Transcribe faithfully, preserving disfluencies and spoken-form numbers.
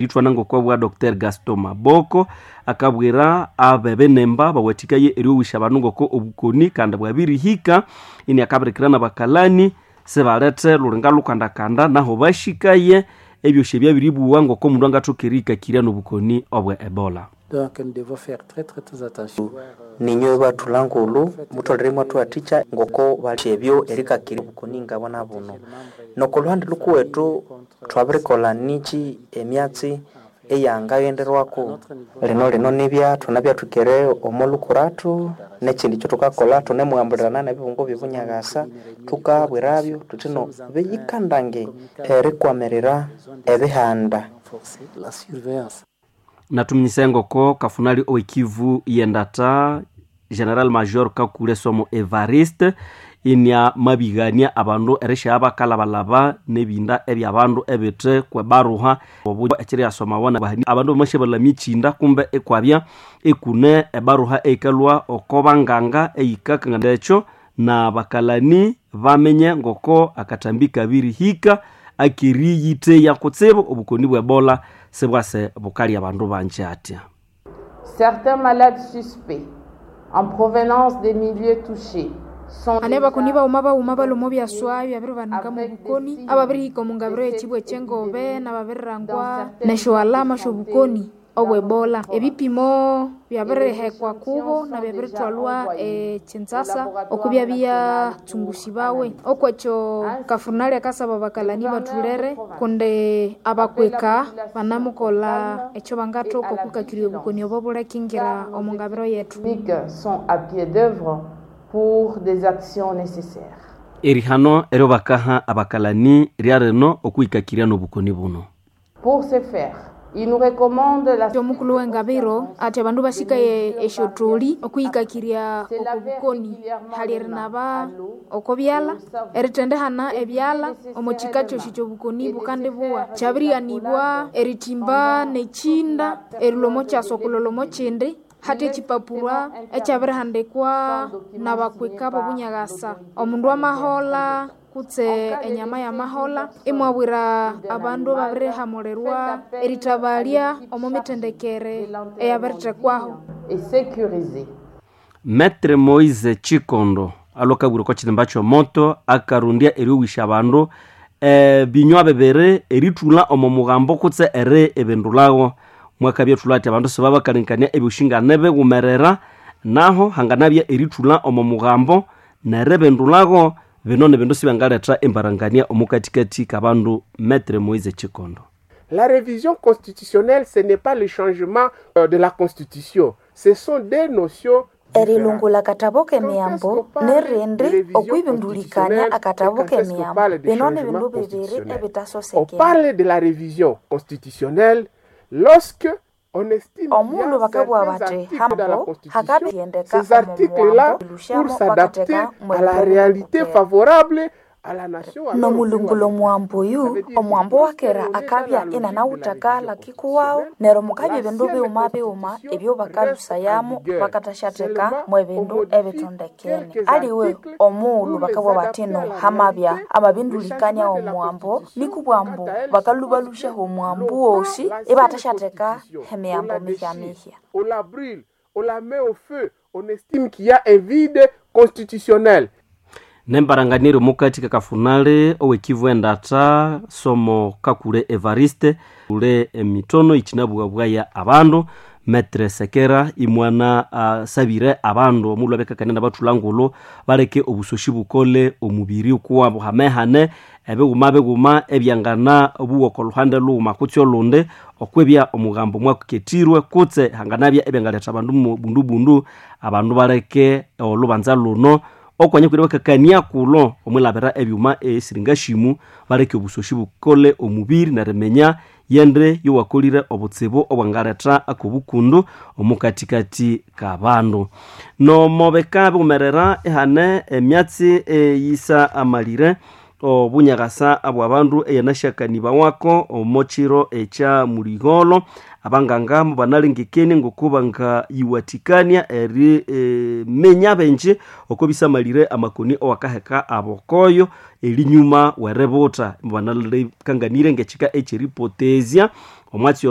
Ithwana ngokwa Doctor Gaston Maboko akabwira abebenemba bawathikaye eryowisha abandu ngoko obukoni kandi bwabirihika ini akabirikira n'abakalani sibalethe lulinga lukandakanda naho bashikaye ebyosi ebyabiribuwa ngoko omundu angathoka erihikakirya n'obukoni obwe Ebola. Donc nous devons faire très très très attention. Ninywe bathula ngulu mutholere mwathuwathikya ngoko balya ebyo erikakirya obukoni ngabona buno. Noko lhuhandi lhukuwethu thwabirikolha niki emyatsi eyangaghenderwako. Lino lino nibya thunabyathwikere omo lhukurathu nekyindi ekyathukakolha thunemughambulirana nebibungo byebunyakasa thukabwirabyo thuthi no biyikandange erikwamirira ebihanda. La surveillance. Natuminyisa ngoko kafunali owekivu yendata General Major Kakule Somo Evariste inia mabigania abandu erisha bakalabalaba nebinda ebyabandu ebithe kwebaruha obu ekiri yasomawa nabahani abandu bamashabalhamya ekyinda kumbe ekwabya ekune ebaruha eikalwa oko banganga eyikakangana ekyo na bakalani bamenye ngoko akathambi kabirihika akeriyitheya kutsibu obukoni bwe Ebola sibwase bukalya abandu banji atya. Certains malades suspects en provenance des milieux touchés ane bakoni bauma bauma balomo byaswa byabiribanika mu bukoni ababirihika omu ngabiro y'ekibwa ekyengobe nababirirangwa nesyoalama syobukoni obwebola ebipimo byabirihekwa kubo na byabirithwalwa ekinzasa okubya byatsungusibwawe okwekyo kafunali akasaba bakalani bathulere kundi abakweka banamukolha ekyo bangathoka okwikakirya obukoni obo bulekingira omu ngabiro yethu. Sont à pied d'œuvre pour des actions nécessaires. Erihano eryo bakaha abakalani ryarino okwikakirya n'obukoni buno. Pour ce faire, il nous recommande la Omukulu w'engabiro ati abandu basikaye esyotholi okwihikakirya okubukoni hali erinaba oko byalha erithendehana ebyalha omo kika kyosi kyobukoni bukandibuwa kyabirighanibwa erithimba nekyinda erilwa omo kyasa okulolha omo kyindi hati ekyipapurwa ekyabirihandikwa nabakwika b'obunyakasa omundu amaholha kutse enyama yamaholha imwabwira abandu ababirihamulirwa erithabalya omo mithendekere eyabirithekwaho. Et sécurisé. Maître Moise Chikondo alokabwira oko kirimba ky'omoto akarundya eryowisha abandu ebinywa bibiri erithulha omo mughambo kutse eri ebindulhawo mwakabya ethulha ati abandu sibabakalinkania ebyosi nganebighumerera naho hanganabya erithulha omo mughambo neribindulhago bino nibindu sibyangaletha embarangania omukathikathi kabandu. Maître Moise Chikondo. La révision constitutionnelle, ce n'est pas le changement de la constitution, ce sont des notions. Erilungula akatabo k'emiyambo nirindi okwibindulikania akatabo k'emiyambo bino ni bindu bibiri On ebitasosekene. parle de la révision constitutionnelle lorsque on estime qu'il y Omundu a bakabugha certains bathi articles dans la hambo Constitution, hakabiyendeka ces articles-là, omu pour mughambo s'adapter bakateka à la réalité favorable à la nation. Alors, nomulungulo omuwambo oyu omuwambo wakera akabya inanawutha kikuwawu neryo mukabya ebindu bighuma bighuma ebyo bakalusayamu bakathasyatheka mwebindu ebithondekene aliwe omughulhu bakabugha bathi no hamabya amabindulikania omuwambo nikubwambu bakalubalusyaho omuwambo wosi ibathasyatheka emiyambo mihyamihya. On la brûle, on la met au feu, on estime qu'il y a un vide constitutionnel. Nembaranganiro mukathi kakafunale owekivu endatha somo Kakule Evariste ule emitono ikinabughabwaya abandu. Maître Sekera imwana uh, sabire abandu omulhu abekakania nabathulha ngulhu baleke obusoshi bukole omubiri ukuwabo hamehane ebighuma bighuma ebyangana buwa oko luhande lughuma kutse olundi okwibya omughambo mwakukethirwe kutse hanganabya ebyangaletha abandu mu bundu bundu abandu baleke olubanza luno okwanya kwira bakakania kulo omwilabira ebyuma esiringashimu baleke obusoshi bukole omubiri neriminya yende yowakolire obutsibu obwangaletha akobukundu omukathikathi kabandu. Nomobeka bighumerera ehane emyatsi eyisa amalire obunyakasa abwabandu eyanasyakanibawako omo kiro ekya muligholo abanganga mubanalengekenie ngokubangayiwathikania eri e, minya benji oko bisamalire amakoni owakaheka abokoyo elinyuma weributha mubanalekanganire ngekika ekyeripotezya omwatsi ono.